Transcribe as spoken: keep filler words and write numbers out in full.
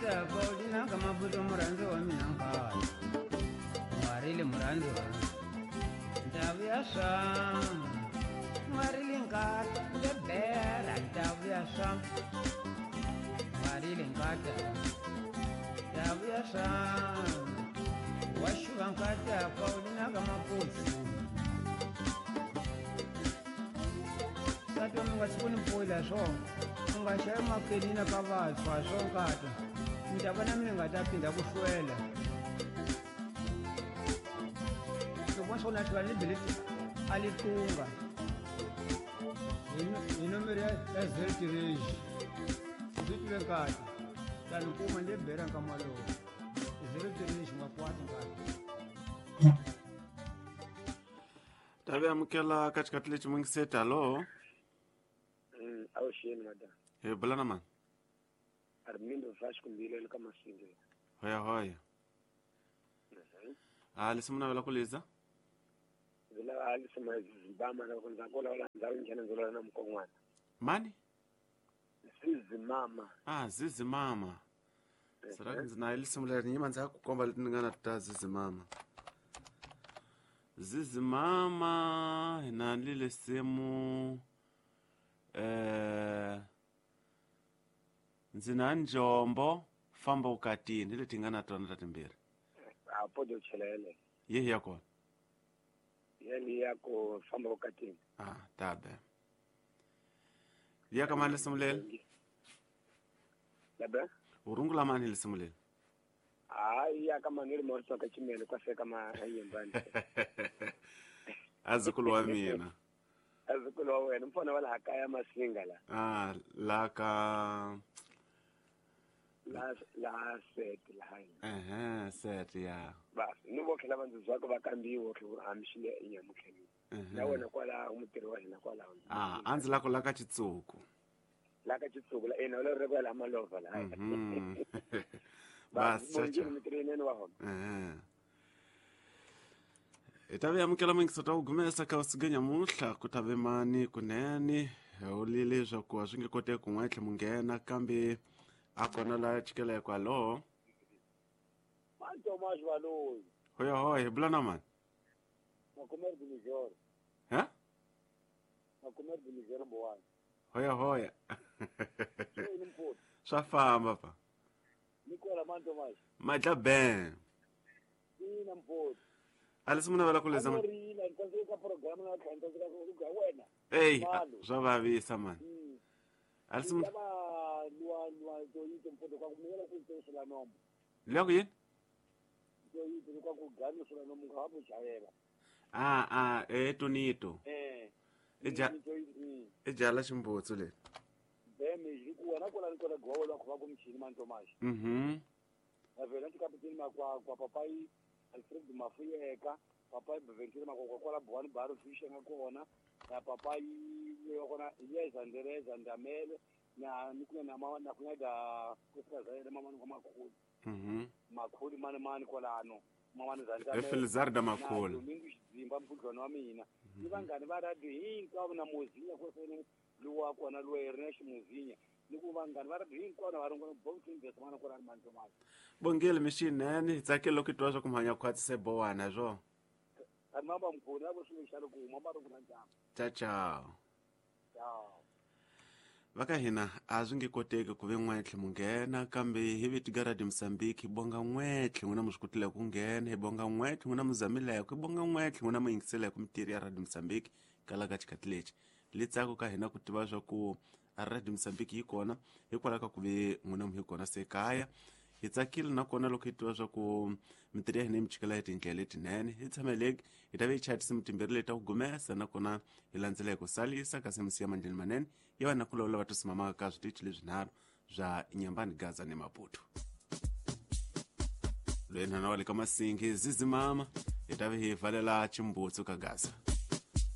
nkata Paulina ka Maputo murhandzi wa mina nkata N'warile murhandzi wa Ntavu ya swa N'warile nkata Lebera ntavu ya swa N'warile nkata Ntavu ya swa Washuva nkata Paulina ka Maputo Tata mi nga siku ni pfula swona u nga xavi makelina ka vantshwa swo nkata ni ta vona mi nga ta phinda ku hlwela loko swo na hlwela ni bele a li tunga hi nomero ya zero three ndzi twile nkata ta ni kuma ni bera nkama lowu zero three xi nga kwata nkata Tabe amukela katikati lexi mungiseti alo Awuxeni madam. Hi bula na mani? Armindo Vasco Mbilelo ka Masinga. Hoya hoya. Ah, lesi munhu navela ku liza? Ndzi lava halisi mazibama loko ndza ku vulavula ndhawu njhani ndzi vulavula na mukon'wana. Mani? Zizimama. Ah, Zizimama. Será que ndzi na lisimu leri nyima ndzi ku komba leti ni nga na ta Zizimama. Zizimama hi na lile simu eh ndzi na njombo famba ukatini leti nga na tona ta timbirhi. A podo chelele. Yehi ya kona. Yeli ya ku famba ukatini. Ah, tabe. Ya ka mani lisimu leri? Labe? Urungula mani lisimu leri? Hayi ya ka Manuel Morrison ka Chimene kwa seka ma yimbani. Azukulu wa mina. Azukulu wa wena mfana wa laha kaya Masinga la. Ah, la ka la la set la hayi. Eh, set ya. Bas, ni vo khela vanhu zwa va kambiwa ku hamxile enyamukheni. Na wena kwala mutirhi wa hina kwala. Ah, andzi la ku la ka Chitsuku. La ka Chitsuku la ena la re kwala malova la. Mhm. Bas, chacha. Eh. Itabe amukela mingi ta ugumesa ka usigenya muhla kutave mani kunene ulile swa ku swi nge kote ku n'wetlhe munghena kambe a kona la chikela kwalo. Manto majwalo. Hoya hoya bula na mani. Makumer Bunijor. Ha? Makumer Bunijor mbowana. Hoya hoya. Swa famba pa. Nikola manto maj. Madla ben. Ina mpoti. Alisi muna vela kuleza man. Ei, swa vavisa man. Alisi muna. Loko yini? Ah, ah, eh tonito. Eh. Eja. Eja la ximbutsu le. Mhm. Alfred Mafuyeka, papai Ventura Makokola Buan Baro Fish and Kona, papai Yokona, yes, and the rest and the male, na Nukuna Mama Nakuda, Mama Makul, Makul, Man Colano, Mamma Felizarda Makul, Zimbabwe, Ivan Ganvara, the Governor Mozilla, Luakona, Luernesh Mozilla. Bongile mixinene hi tsakile loko hi twa swa ku mhanya khwatsi bowana swo. Ciao ciao. Va ka hina a swi nge koteki ku ve n'wetlhe munghena kambe hi viti Radio Mozambique hi bonga n'wetlhe n'wina mi swi kotile ku nghena hi bonga n'wetlhe n'wina mi zamileke hi bonga n'wetlhe n'wina mi yingiseleke mitirho ya Radio Mozambique kala ka xikhathi lexi litsako ka hina ku tiva swa ku a Radio Mozambique yi kona hikwalaho ka ku ve n'wina mi hi kona se kaya hi tsakile nakona loko hi tiva swa ku mitirho ya hina yi mi chikela hi tindlela letinene hi tshameleki hi ta ve hi chaya timbirhi leti ta ku gumesa nakona hi landzela hi ku salisa kasi mi siya mandleni manene ya vanhu ku lawula va tisimamaka ka switichi leswinharhu swa Nyambani, Gaza ni Maputo. Loyi nhwana wa le ka Masingi Zizimama hi ta ve hi valela Chimbutsu ka Gaza.